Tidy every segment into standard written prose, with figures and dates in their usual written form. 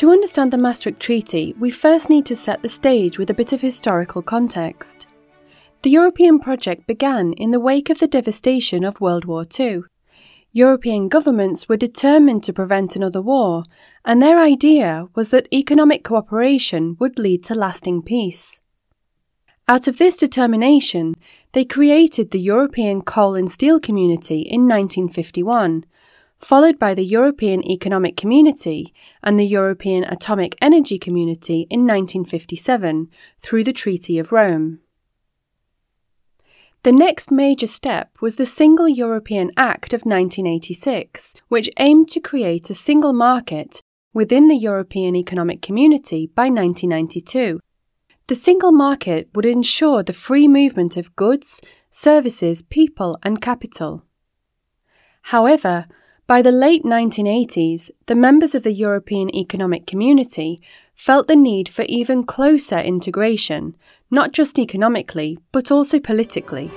To understand the Maastricht Treaty, we first need to set the stage with a bit of historical context. The European project began in the wake of the devastation of World War II. European governments were determined to prevent another war, and their idea was that economic cooperation would lead to lasting peace. Out of this determination, they created the European Coal and Steel Community in 1951, followed by the European Economic Community and the European Atomic Energy Community in 1957 through the Treaty of Rome. The next major step was the Single European Act of 1986, which aimed to create a single market within the European Economic Community by 1992. The single market would ensure the free movement of goods, services, people, and capital. However, by the late 1980s, the members of the European Economic Community felt the need for even closer integration, not just economically, but also politically.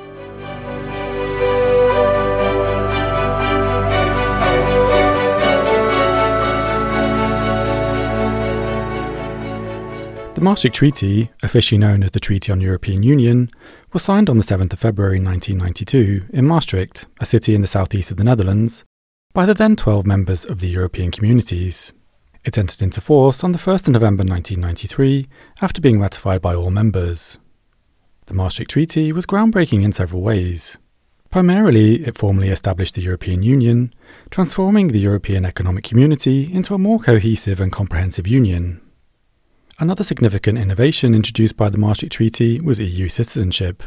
The Maastricht Treaty, officially known as the Treaty on European Union, was signed on the 7th of February 1992 in Maastricht, a city in the southeast of the Netherlands, by the then 12 members of the European Communities. It entered into force on the 1st of November 1993 after being ratified by all members. The Maastricht Treaty was groundbreaking in several ways. Primarily, it formally established the European Union, transforming the European Economic Community into a more cohesive and comprehensive union. Another significant innovation introduced by the Maastricht Treaty was EU citizenship.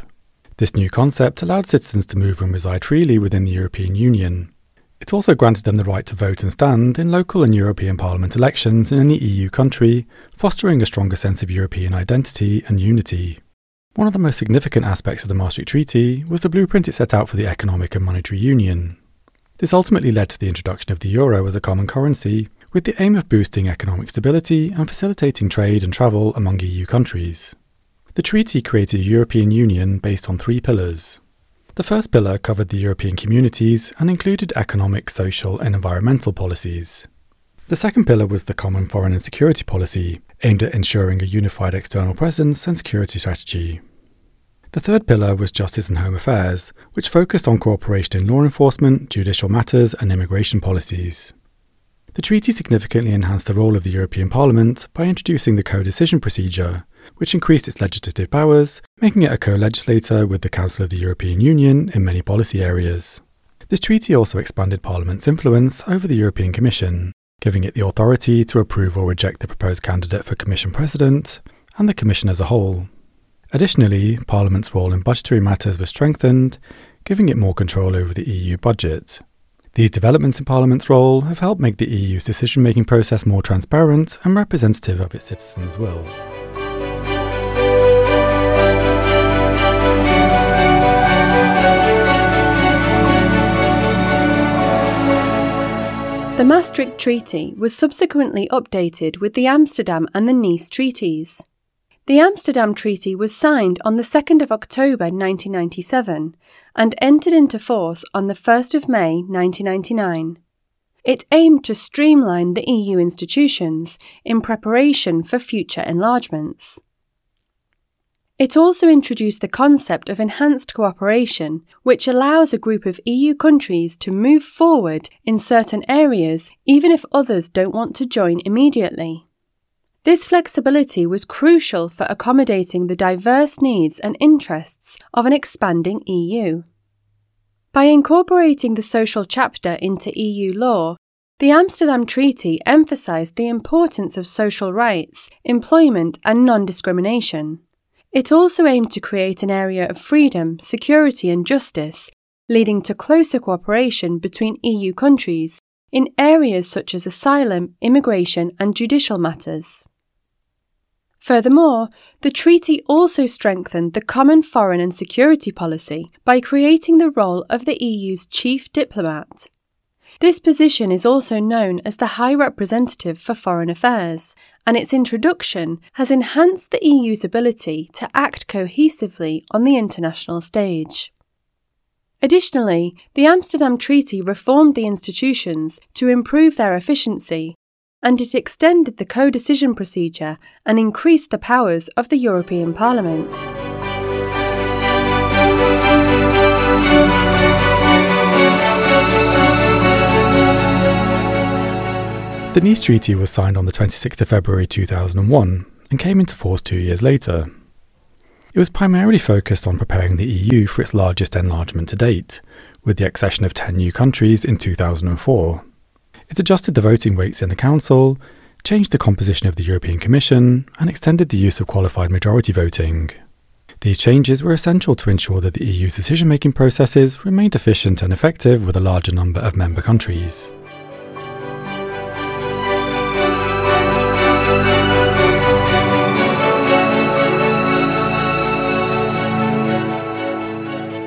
This new concept allowed citizens to move and reside freely within the European Union. It also granted them the right to vote and stand in local and European Parliament elections in any EU country, fostering a stronger sense of European identity and unity. One of the most significant aspects of the Maastricht Treaty was the blueprint it set out for the Economic and Monetary Union. This ultimately led to the introduction of the euro as a common currency, with the aim of boosting economic stability and facilitating trade and travel among EU countries. The treaty created a European Union based on three pillars. The first pillar covered the European communities and included economic, social, and environmental policies. The second pillar was the Common Foreign and Security Policy, aimed at ensuring a unified external presence and security strategy. The third pillar was Justice and Home Affairs, which focused on cooperation in law enforcement, judicial matters, and immigration policies. The treaty significantly enhanced the role of the European Parliament by introducing the co-decision procedure, which increased its legislative powers, making it a co-legislator with the Council of the European Union in many policy areas. This treaty also expanded Parliament's influence over the European Commission, giving it the authority to approve or reject the proposed candidate for Commission President and the Commission as a whole. Additionally, Parliament's role in budgetary matters was strengthened, giving it more control over the EU budget. These developments in Parliament's role have helped make the EU's decision-making process more transparent and representative of its citizens' will. The Maastricht Treaty was subsequently updated with the Amsterdam and the Nice Treaties. The Amsterdam Treaty was signed on the 2nd of October 1997 and entered into force on the 1st of May 1999. It aimed to streamline the EU institutions in preparation for future enlargements. It also introduced the concept of enhanced cooperation, which allows a group of EU countries to move forward in certain areas even if others don't want to join immediately. This flexibility was crucial for accommodating the diverse needs and interests of an expanding EU. By incorporating the social chapter into EU law, the Amsterdam Treaty emphasised the importance of social rights, employment and non-discrimination. It also aimed to create an area of freedom, security and justice, leading to closer cooperation between EU countries in areas such as asylum, immigration and judicial matters. Furthermore, the treaty also strengthened the common foreign and security policy by creating the role of the EU's chief diplomat. This position is also known as the High Representative for Foreign Affairs, and its introduction has enhanced the EU's ability to act cohesively on the international stage. Additionally, the Amsterdam Treaty reformed the institutions to improve their efficiency, and it extended the co-decision procedure and increased the powers of the European Parliament. The Nice Treaty was signed on the 26th of February 2001 and came into force 2 years later. It was primarily focused on preparing the EU for its largest enlargement to date, with the accession of 10 new countries in 2004. It adjusted the voting weights in the Council, changed the composition of the European Commission, and extended the use of qualified majority voting. These changes were essential to ensure that the EU's decision-making processes remained efficient and effective with a larger number of member countries.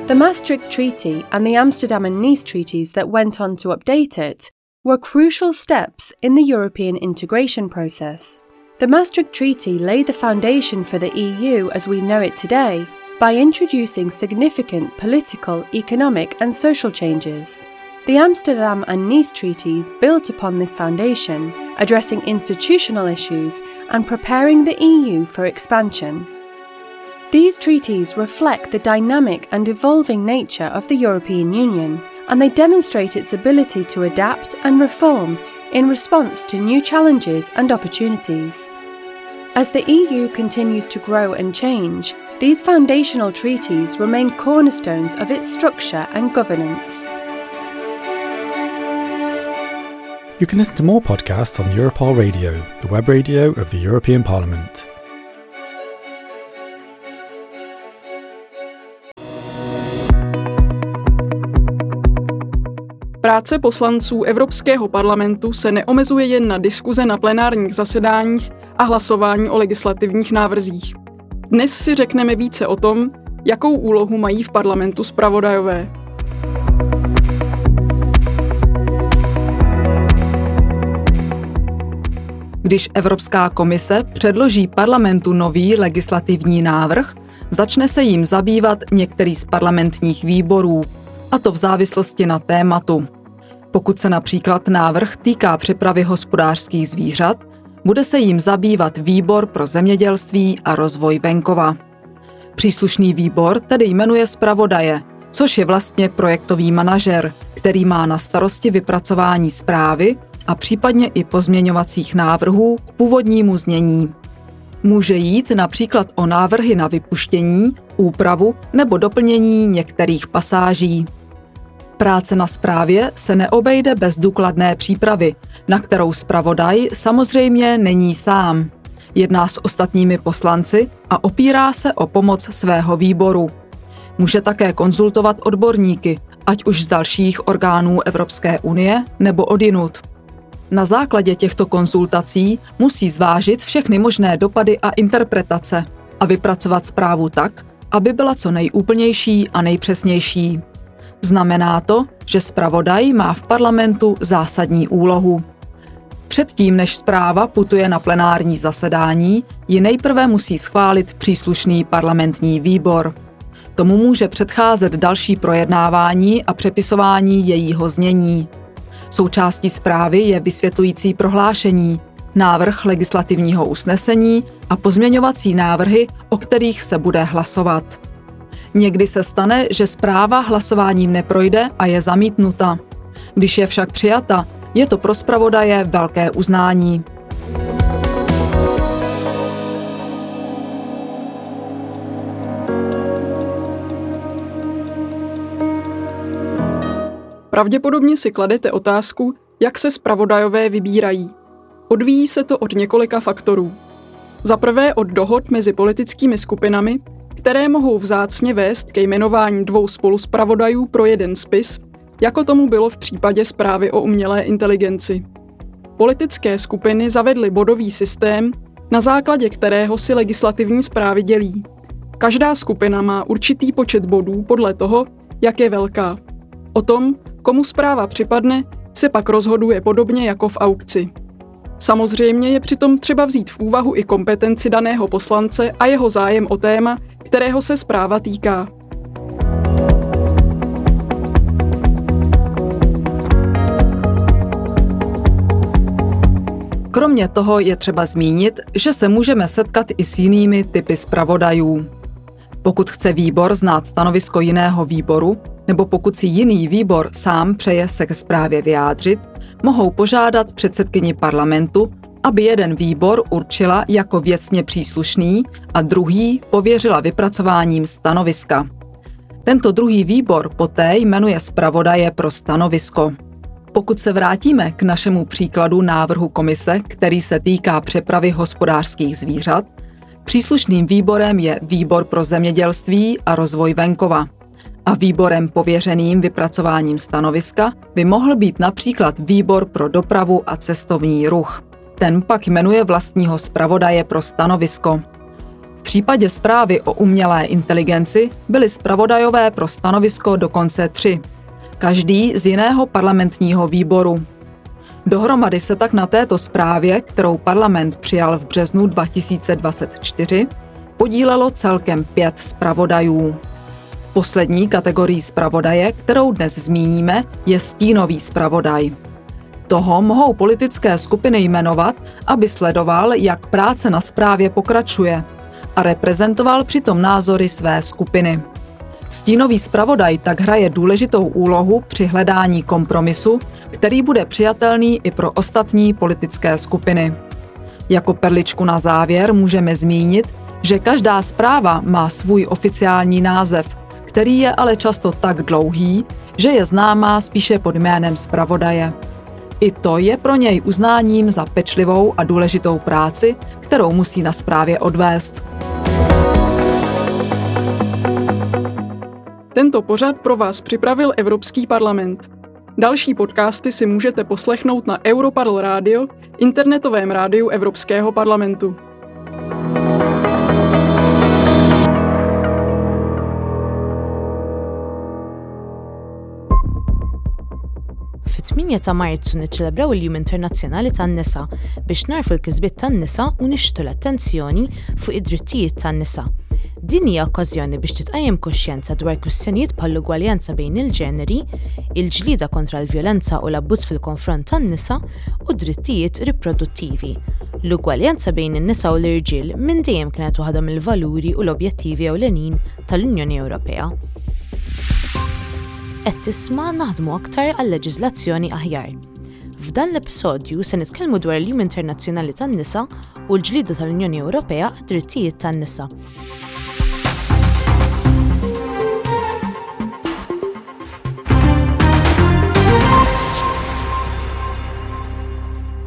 The Maastricht Treaty and the Amsterdam and Nice treaties that went on to update it were crucial steps in the European integration process. The Maastricht Treaty laid the foundation for the EU as we know it today by introducing significant political, economic and social changes. The Amsterdam and Nice treaties built upon this foundation, addressing institutional issues and preparing the EU for expansion. These treaties reflect the dynamic and evolving nature of the European Union, and they demonstrate its ability to adapt and reform in response to new challenges and opportunities. As the EU continues to grow and change, these foundational treaties remain cornerstones of its structure and governance. You can listen to more podcasts on Europarl Radio, the web radio of the European Parliament. Práce poslanců Evropského parlamentu se neomezuje jen na diskuze na plenárních zasedáních a hlasování o legislativních návrzích. Dnes si řekneme více o tom, jakou úlohu mají v parlamentu zpravodajové. Když Evropská komise předloží parlamentu nový legislativní návrh, začne se jím zabývat některý z parlamentních výborů, a to v závislosti na tématu. Pokud se například návrh týká přepravy hospodářských zvířat, bude se jím zabývat výbor pro zemědělství a rozvoj venkova. Příslušný výbor tedy jmenuje zpravodaje, což je vlastně projektový manažer, který má na starosti vypracování zprávy a případně i pozměňovacích návrhů k původnímu znění. Může jít například o návrhy na vypuštění, úpravu nebo doplnění některých pasáží. Práce na zprávě se neobejde bez důkladné přípravy, na kterou zpravodaj samozřejmě není sám. Jedná s ostatními poslanci a opírá se o pomoc svého výboru. Může také konzultovat odborníky, ať už z dalších orgánů Evropské unie nebo odjinud. Na základě těchto konzultací musí zvážit všechny možné dopady a interpretace a vypracovat zprávu tak, aby byla co nejúplnější a nejpřesnější. Znamená to, že zpravodaj má v parlamentu zásadní úlohu. Předtím, než zpráva putuje na plenární zasedání, ji nejprve musí schválit příslušný parlamentní výbor. Tomu může předcházet další projednávání a přepisování jejího znění. Součástí zprávy je vysvětlující prohlášení, návrh legislativního usnesení a pozměňovací návrhy, o kterých se bude hlasovat. Někdy se stane, že zpráva hlasováním neprojde a je zamítnuta. Když je však přijata, je to pro zpravodaje velké uznání. Pravděpodobně si kladete otázku, jak se zpravodajové vybírají. Odvíjí se to od několika faktorů. Za prvé od dohod mezi politickými skupinami, které mohou vzácně vést ke jmenování dvou spoluzpravodajů pro jeden spis, jako tomu bylo v případě zprávy o umělé inteligenci. Politické skupiny zavedly bodový systém, na základě kterého si legislativní zprávy dělí. Každá skupina má určitý počet bodů podle toho, jak je velká. O tom, komu zpráva připadne, se pak rozhoduje podobně jako v aukci. Samozřejmě je přitom třeba vzít v úvahu i kompetenci daného poslance a jeho zájem o téma, kterého se zpráva týká. Kromě toho je třeba zmínit, že se můžeme setkat i s jinými typy zpravodajů. Pokud chce výbor znát stanovisko jiného výboru, nebo pokud si jiný výbor sám přeje se ke zprávě vyjádřit, mohou požádat předsedkyni parlamentu, aby jeden výbor určila jako věcně příslušný a druhý pověřila vypracováním stanoviska. Tento druhý výbor poté jmenuje zpravodaje pro stanovisko. Pokud se vrátíme k našemu příkladu návrhu komise, který se týká přepravy hospodářských zvířat, příslušným výborem je Výbor pro zemědělství a rozvoj venkova. A výborem pověřeným vypracováním stanoviska by mohl být například Výbor pro dopravu a cestovní ruch. Ten pak jmenuje vlastního zpravodaje pro stanovisko. V případě zprávy o umělé inteligenci byli zpravodajové pro stanovisko dokonce 3. Každý z jiného parlamentního výboru. Dohromady se tak na této zprávě, kterou parlament přijal v březnu 2024, podílelo celkem 5 zpravodajů. Poslední kategorii zpravodaje, kterou dnes zmíníme, je stínový zpravodaj. Toho mohou politické skupiny jmenovat, aby sledoval, jak práce na zprávě pokračuje a reprezentoval přitom názory své skupiny. Stínový zpravodaj tak hraje důležitou úlohu při hledání kompromisu, který bude přijatelný i pro ostatní politické skupiny. Jako perličku na závěr můžeme zmínit, že každá zpráva má svůj oficiální název, který je ale často tak dlouhý, že je známá spíše pod jménem zpravodaje. I to je pro něj uznáním za pečlivou a důležitou práci, kterou musí na zprávě odvést. Tento pořad pro vás připravil Evropský parlament. Další podcasty si můžete poslechnout na Europarl Radio, internetovém rádiu Evropského parlamentu. Fit-8 ta' Marzu niċċelebraw il-Jum Internazzjonali tan-Nisa biex nagħrfu l-kisbiet tan-nisa u nixtu l-attenzjoni fuq id-drittijiet tan-nisa. Din hija okkażjoni biex titqajjem kuxjenza dwar kwistjonijiet bħall-ugwaljanza bejn il-ġeneri, il-ġlieda kontra l-vjolenza u l-abbuż fil-konfront tan-nisa u d-drittijiet riproduttivi. L-ugwaljanza bejn in-nisa u l-irġiel minn dejjem kienet waħda mill-valuri u l-objettivi ewlenin tal-Unjoni Ewropea. Qed tisma' Naħdmu aktar għal leġiżlazzjoni aħjar. F'dan l-episodju se nitkellmu dwar il-Jum Internazzjonali tan-Nisa u l-ġlieda tal-Unjoni Ewropea għad-drittijiet tan-nisa.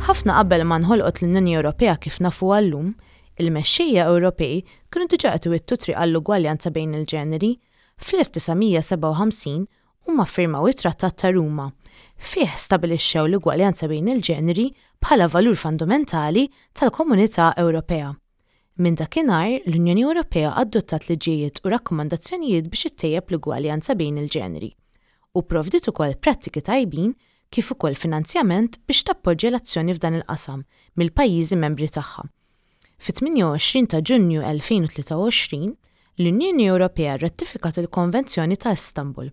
Ħafna qabel ma nħolqot l-Unjoni Ewropea kif nafuha llum, il-mexxejja Ewropej kienu diġà qed iwittu triq għall-ugwaljanza bejn il-ġeneri. Fl-1957 huma ffirmaw it-Trattat ta' Ruma. Fih stabilixxew l-ugwaljanza bejn il-ġeneri bħala valur fundamentali tal-Komunità Ewropea. Minn dakinhar, l-Unjoni Ewropea adottat liġijiet u rakkomandazzjonijiet biex ittejjeb l-ugwaljanza bejn il-ġeneri, u pprovdiet ukoll prattiki tajbin kif ukoll finanzjament biex tappoġġja l-azzjoni f'dan il-qasam mill-pajjiżi membri tagħha. Fit-28 ta' Ġunju 2023, l-Unjoni Ewropea rratifikat il-Konvenzjoni ta' Istanbul.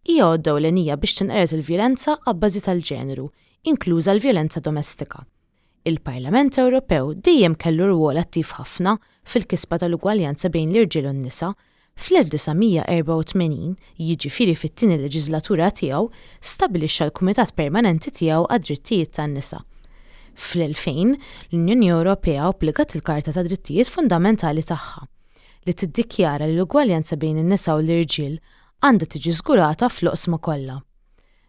Hija għodda ewlenija biex tinqered il-vjolenza abbażi tal-ġeneru, inkluża l-vjolenza domestika. Il-Parlament Ewropew dejjem kellu rwol attiv ħafna fil-kisba tal-ugwaljanza bejn l-irġiel u n-nisa. Fl-1984, jiġifieri fit-tieni leġiżlatura tiegħu, stabbilixxa l-Kumitat Permanenti tiegħu għad-Drittijiet tan-Nisa. Fl-2000, l-Unjoni Ewropea obbligat il-Karta tad-Drittijiet Fundamentali tagħha, li tiddikjara li l-ugwaljanza bejn in-nisa u l-irġiel għandha tiġi żgurata fl-oqsma kollha.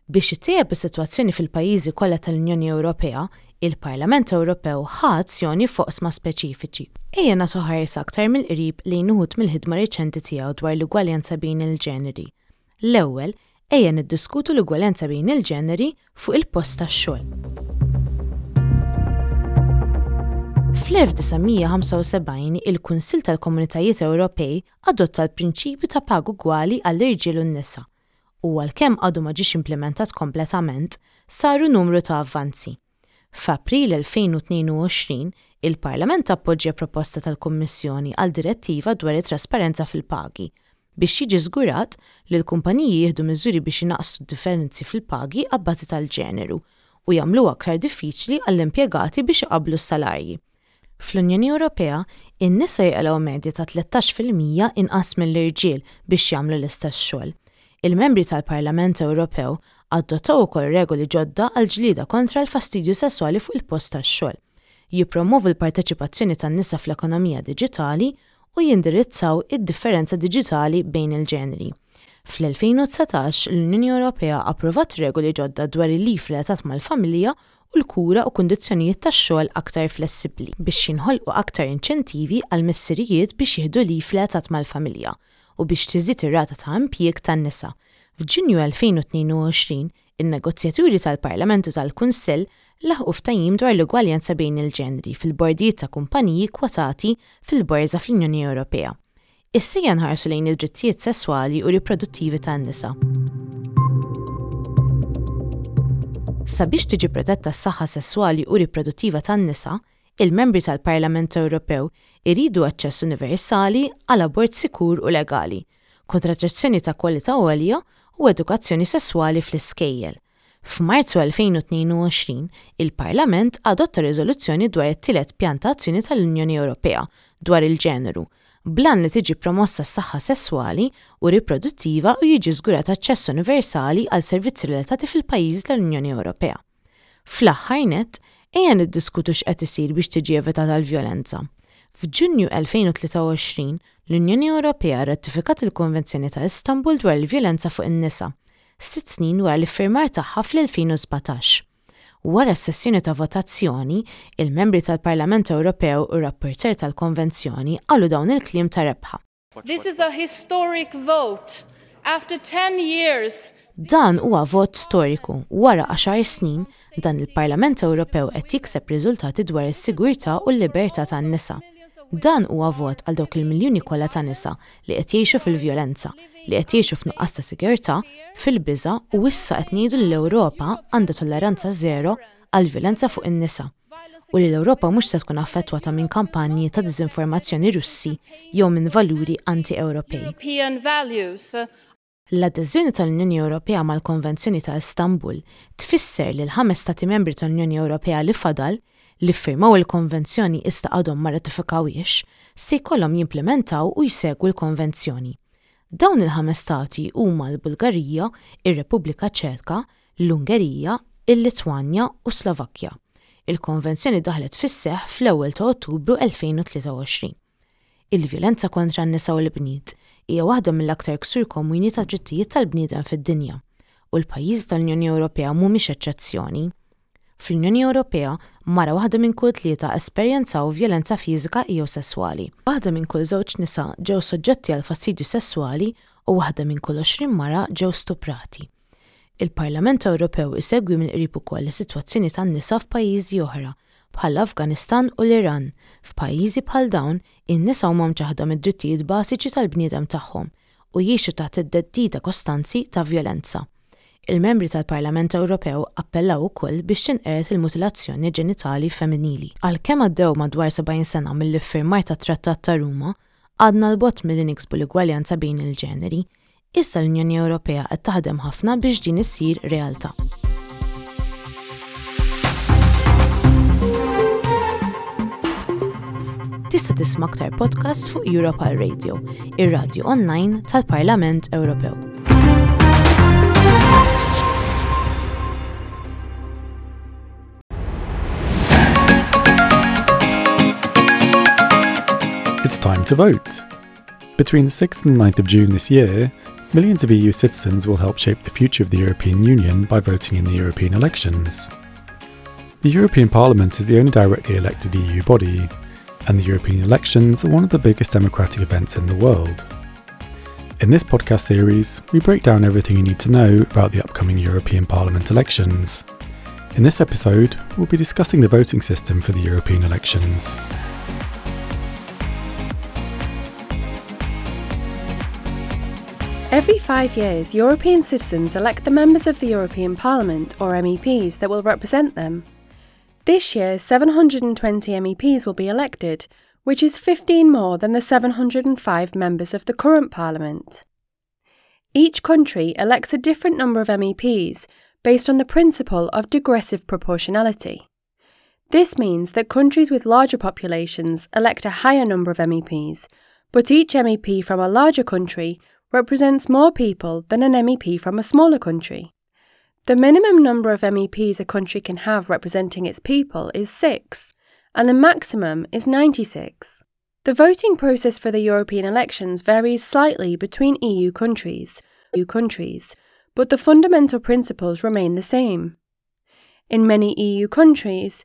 Biex ittejjeb is-sitwazzjoni fil-pajjiżi kollha tal-Unjoni Ewropea, il-Parlament Ewropew ħa azzjoni f'oqsma speċifiċi. Ejja nagħtu ħarsa aktar mill-qrib lejn uħud mill-ħidma riċenti tiegħu dwar l-ugwaljanza bejn il-ġeneri. L-ewwel, ejja niddiskutu l-ugwaljanza bejn il-ġeneri fuq il-post tax-xogħol. Fl-1975, il-Kunsill tal-Komunitajiet Ewropej adotta l-prinċipju ta' paga ugwali għall-irġiel u n-nisa, u għalkemm għadu ma ġiex implimentat kompletament, saru numru ta' avvanzi. F'April 2022, il-Parlament appoġġja proposta tal-Kummissjoni għal direttiva dwar it-trasparenza fil-pagi, biex jiġi żgurat li l-kumpaniji jieħdu miżuri biex inaqqsu d-differenzi fil-pagi abbażi tal-ġeneru. u jagħmluha aktar diffiċli għall-impjegati biex iqabblu s-salarji. Fl-Unjoni Ewropea, in-nisa jaqilgħu medja ta' 13% inqas mill-irġiel biex jagħmlu l-istess xogħol. Il-Membri tal-Parlament Ewropew adottaw ukoll regoli ġodda għall-ġlieda kontra l-fastidju sesswali fuq il-post tax-xogħol, jippromwovu l-parteċipazzjoni tan-nisa fl-ekonomija diġitali u jindirizzaw id-differenza diġitali bejn il-ġeneri. Fl-2019, l-Unjoni Ewropea approvat regoli ġodda dwar il-leave relatat mal-familja u l-kura u kundizzjonijiet tax-xogħol aktar flessibbli biex jinħolqu aktar inċentivi għall-missirijiet biex jieħdu leave relatat mal-familja u biex tiżdied ir-rata ta' impjieg tan-nisa. F'Ġunju 2022, in-negozjaturi tal-Parlament u tal-Kunsill laħqu ftehim dwar l-ugwaljanza bejn il-ġeneri fil-bordijiet ta' kumpaniji kkwotati fil-Borża fl-Unjoni Ewropea. Issa ejja nħarsu lejn id-drittijiet sesswali u riproduttivi tan-nisa. Sabiex tiġi protetta s-saħħa sesswali u riproduttiva tan-nisa, il-Membri tal-Parlament Ewropew iridu aċċess universali għal abort sikur u legali, kontraċezzjoni ta' kwalità għolja u edukazzjoni sesswali fl-iskejjel. F'Marzu 2022, il-Parlament adotta riżoluzzjoni dwar it-tielet Pjan ta' Azzjoni tal-Unjoni Ewropea dwar il-Ġeneru, bl-għan li tiġi promossa s-saħħa sesswali u riproduttiva u jiġi żgurat aċċess universali għal servizzi relatati fil-pajjiżi tal-Unjoni Ewropea. Fl-aħħar nett, ejja niddiskutu x'qed isir biex tiġi evitata l-vjolenza. F'Ġunju 2023, l-Unjoni Ewropea rratifikat il-Konvenzjoni ta' Istanbul dwar il-Vjolenza fuq in-Nisa, sitt snin wara l-iffirmar tagħha fl-2017. Wara s-sessjoni ta' votazzjoni, il-Membri tal-Parlament Ewropew u r-rapporteur tal-Konvenzjoni qalu dawn il-kliem ta' rebħa. This is a historic vote. After 10 years, Dan huwa vot storiku. Wara għaxar snin, dan il-Parlament Ewropew qed jikseb riżultati dwar is-sigurtà u l-libertà tan-nisa. Dan huwa vot għal dawk il-miljuni kollha ta' nisa li qed jgħixu fil-vjolenza, li qed jgħixu f'nuqqas ta' sigurtà, fil-biża' u issa qed ngħidu li l-Ewropa għandha tolleranza żero għall-vjolenza fuq in-nisa u li l-Ewropa mhux se tkun affettwata minn kampanji ta' diżinformazzjoni Russi jew minn valuri anti-Ewropej. L-adeżjoni tal-Unjoni Ewropea mal-Konvenzjoni ta' Istanbul tfisser li l-ħames Stati Membri tal-Unjoni Ewropea li fadal, li ffirmaw il-Konvenzjoni iżda għadhom ma rratifikawhiex, se jkollhom jimplimentaw u jsegwu l-Konvenzjoni. Dawn il-ħames stati huma l-Bulgarija, ir-Repubblika Ċeka, l-Ungerija, il-Litwanja u s-Slovakkja. Il-Konvenzjoni daħlet fis-seħħ fl-ewwel ta' Ottubru 2023. Il-vjolenza kontra n-nisa u l-bniet hija waħda mill-aktar ksur komuni tad-drittijiet tal-bniedem fid-dinja, u l-pajjiżi tal-Unjoni Ewropea mhumiex eċċezzjoni. Fl-Unjoni Ewropea, mara waħda minn kull tlieta esperjenzaw vjolenza fiżika jew sesswali. Waħda minn kull żewġ nisa ġew soġġetti għal fastidju sesswali u waħda minn kull 20 mara ġew stuprati. Il-Parlament Ewropew isegwi mill-qrib ukoll is-sitwazzjoni tan-nisa f'pajjiżi oħra, bħall-Afganistan u l-Iran. F'pajjiżi bħal dawn, in-nisa huma mċaħħda mid-drittijiet bażiċi tal-bniedem tagħhom u jgħixu taħt it-theddida kostanzi ta' vjolenza. Il-Membri tal-Parlament Ewropew appellaw ukoll biex tinqered il-mutilazzjoni ġenitali femminili. Għalkemm għaddew madwar 70 sena mill-iffirmar tat-Trattat ta' Ruma, għadna 'l bogħod milli niksbu l-ugwaljanza bejn il-ġeneri. Issa l-Unjoni Ewropea qed taħdem ħafna biex din issir realtà. Tista' tisma' aktar podcasts fuq Europal Radio, ir-radju online tal-Parlament Ewropew. It's time to vote. Between the 6th and 9th of June this year, millions of EU citizens will help shape the future of the European Union by voting in the European elections. The European Parliament is the only directly elected EU body, and the European elections are one of the biggest democratic events in the world. In this podcast series, we break down everything you need to know about the upcoming European Parliament elections. In this episode, we'll be discussing the voting system for the European elections. Every 5 years, European citizens elect the members of the European Parliament, or MEPs, that will represent them. This year, 720 MEPs will be elected, which is 15 more than the 705 members of the current Parliament. Each country elects a different number of MEPs based on the principle of degressive proportionality. This means that countries with larger populations elect a higher number of MEPs, but each MEP from a larger country represents more people than an MEP from a smaller country. The minimum number of MEPs a country can have representing its people is 6, and the maximum is 96. The voting process for the European elections varies slightly between EU countries, but the fundamental principles remain the same. In many EU countries,